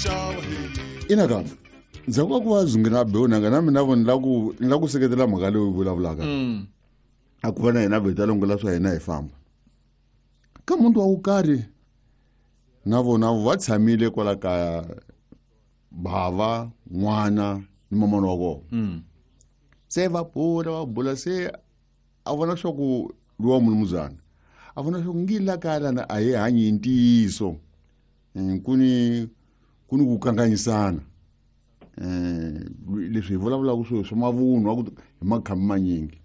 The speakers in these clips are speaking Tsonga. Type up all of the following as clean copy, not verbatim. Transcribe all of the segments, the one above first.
xava. Ina kambe ndzhaku ka ku va zungina beonanga na mina vo ni la ku ni la ku seketela mhaka leyi vulavulaka. A ku va na hina vheta longola swa hina hi famba ka muntu wa wukarhi na vona va tshamile kwala kaya, bava n'wana ni mamana wa kona. Se va bula va bula, se a vona swa ku luwa mulumuzana a vona swa ku ngi la kaya lana a hi hanyi hi ntiyiso. Ku ni ku kanganyisana. Leswi hi vulavulaka swilo swa mavunwa ku hi makhambi manyingi.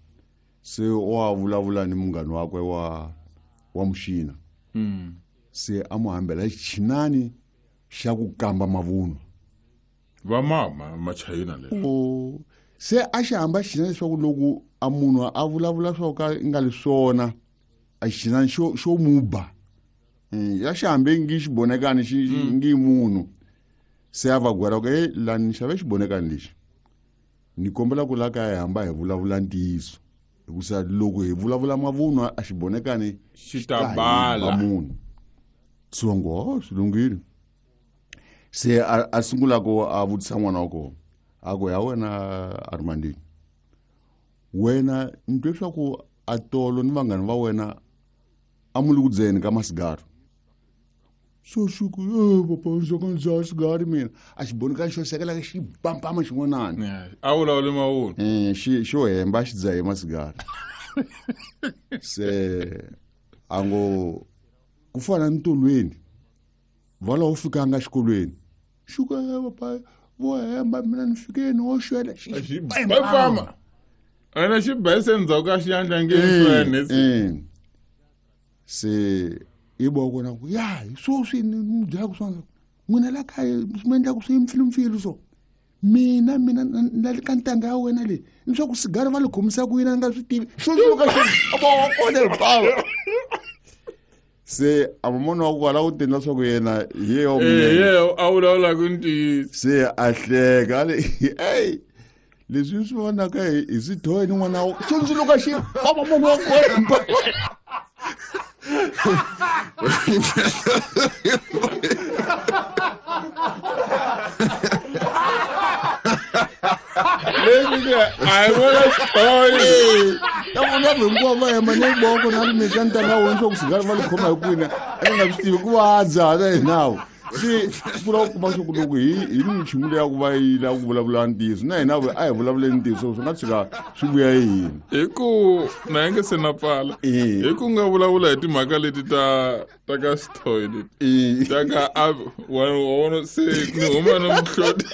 Se wa vulavula ni munghani wakwe wa muxina. Se a mu hambela xichinani xa ku kamba mavunwa. Va mama machayina leswi. O se a xi hamba xichinani leswaku loko a munhu a vulavula swa ka nga li swona, a xichinani xo muba. Ya xi hambe ngi xibonekani xi ngi munhu. Se a va gwera ku e lani ni xave xibonekani lexi, ni kombela ku la kaya hi hamba hi vulavula ntiyiso, hikusa loko hi vulavula mavunwa a xibonekani xi ta bala munhu. Se va ngo oh, swi lunghile. Se a sungula ku a vutisa n'wana wa kona, a ku ya wena Armandini, wena ni twe swa ku a tolo ni vanghani va wena a mu le ku dzeni ka masigari. So xi ku e papa, ndzi ka ndzi dzaha sigari mina. A xi bonekani xo sekela xi pampama xin'wanani. A vulavuli mavunwa. Xi xo hemba xi dzahe masigari. Se a ngo ku fana ni tolweni va laha u fikanga xikolweni. Xi ku e papa, vo hemba, mina ni fikeni wo xwela. Xi pampama ene xi bese endzhaku ka xiyandla nge swene. Se i bo kona ku ya hi swoswi ni mi byelaka swona, n'wina la kaya swi mi endlaku swi mpfilumpfilu. So mina na le ka ntanga ya wena leyi ni swa ku sigari va li khomisa ku yini a nga swi tivi xo suka xo abo wa kona hinkwavo. Se a mamona wa kwala u tendla swa ku yena hi yeyo. Ye a vulavulaka ntiyiso. Se a hleka a le ey leswi swi vonaka hi swi thohe ni n'wana wa xundzuluka xi papa munhu wa kona. Leswi ke a hi vona xitori. Ta vona vanhu hinkwavo va hemba ni voko na ri mika ntanga wena swa ku sigari va li khoma hi kwini a ni nga swi tivi ku va dzaha na hinawo. Se pfula ku kuma swa ku loko hi ni michumu leya ku va yi lava ku vulavula ntiyiso na hina a hi vulavuleni ntiyiso, swi nga tshuka swi vuya hi hina. Hi ku na yi nge se na pfala hi ku nga vulavula hi timhaka leti ta ka xithoyi leti ta ka a wa vona se ni huma ni muhloti.